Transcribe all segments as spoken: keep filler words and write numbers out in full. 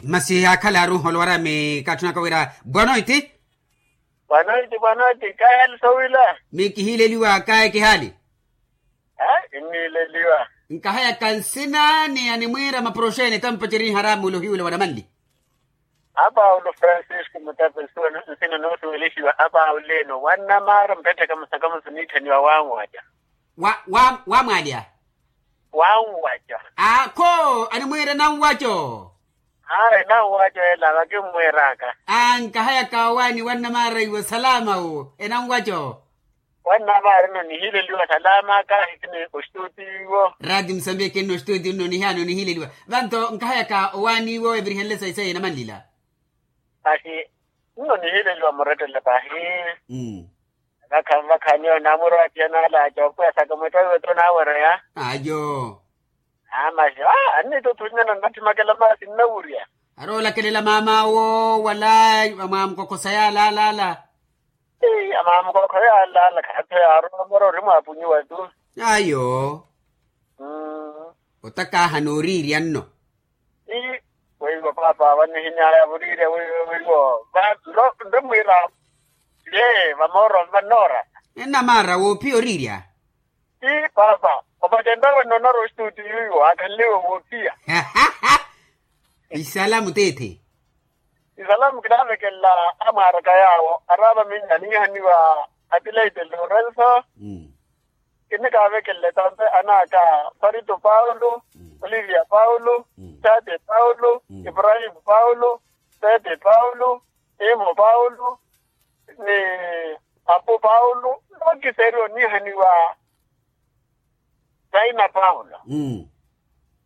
Masi akhala aruholo warami katthunaka wira bwanoiti. Bwanoiti bwanoiti kaye ali sowila. Mikihiileliwa kaye kihaali. Inniileliwa. Nkahayaka nsina ni animwiira maproxene tampaceri haramu olohiwela wanamanli. Apaulo francisco mutape nsuwa nsina noosuwelixiwa apauleno wannamaara mpettheka musakamusu niitthaniwa wanwaca. Wa wa wamwalya. Wanwaca. Akho animwiira nanwaco. Ayi nanwaco ela vakimmwiiraka. Ankahayaka owaani wannamaara iwo salama owo enanwaco. Wannamaara ino nihileliwa salama kahikini ostuti iwo. Rati musambiki nno ostuti nno nihiyano nihileliwa. Vanto nkahayaka owaani iwo evirihenle sayi sayi enamanlila. Pahi nno nihileliwa murettele pahi. Vakhanvakha niyo namuro athiyanala acookweya saka mwetto iwe tto nawereya. Ayo. Amaxi a annituthunyana nnathimakela maasi nnawurya. Aroolakelela maam'awo wala amwamukokhosa yaalaalala. Ii amwamukokho yaalala khaatho yaaromora orimwapunyiwa tu. Ayo. Otakaaha nooriirya nno. Ii weiwo paapa wanihinyaya voriirya weiwo weiwo. Nremwiira ye vamooro vannoora. Ennamaara woophiya oriirya. Ii paapa opatenta wenno onara ostuti yuiwo akhanliwe woophiya. Isalamu tiithi. Isalamu kinaavekelela amwaaraka yaawo araava minna niihaniwa atileite lorenso. Kinikaavekelela tampe anaaka farito paulo, olivia paulo, tate paulo, ibrahimu paulo, tete paulo, imo paulo, ni apo paulo nookiseriwa oniihaniwa. Taina paulo.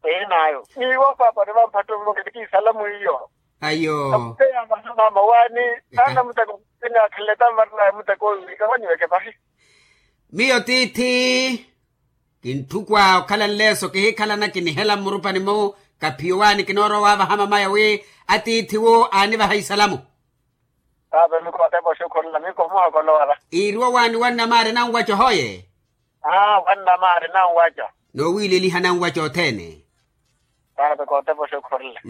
Ehinaayo niiwo paapa onivamphatto mmoke nikiisalamu iyo. Ayo. Aputeya vaha maama waani. Naana muteko. Kinaakhalele tamvarelaya muteko owiwika waniweke pahi. Miyo tiithi kintthukwa okhala nleeso kihikhalana kinihela mmurupani-mu. Kaphiyo waani kinoorowa waavaha mamaya wi atiithi-wo aanivaha isalamu. Paapa mikootepa oxukhurela mikomuha kolowa va. Iiriwa waani wannamaari nanwaco hoye. Aa wannamaari nanwaco. Noowiileliha nanwaco othene. Paapa kootepa oxukhurela.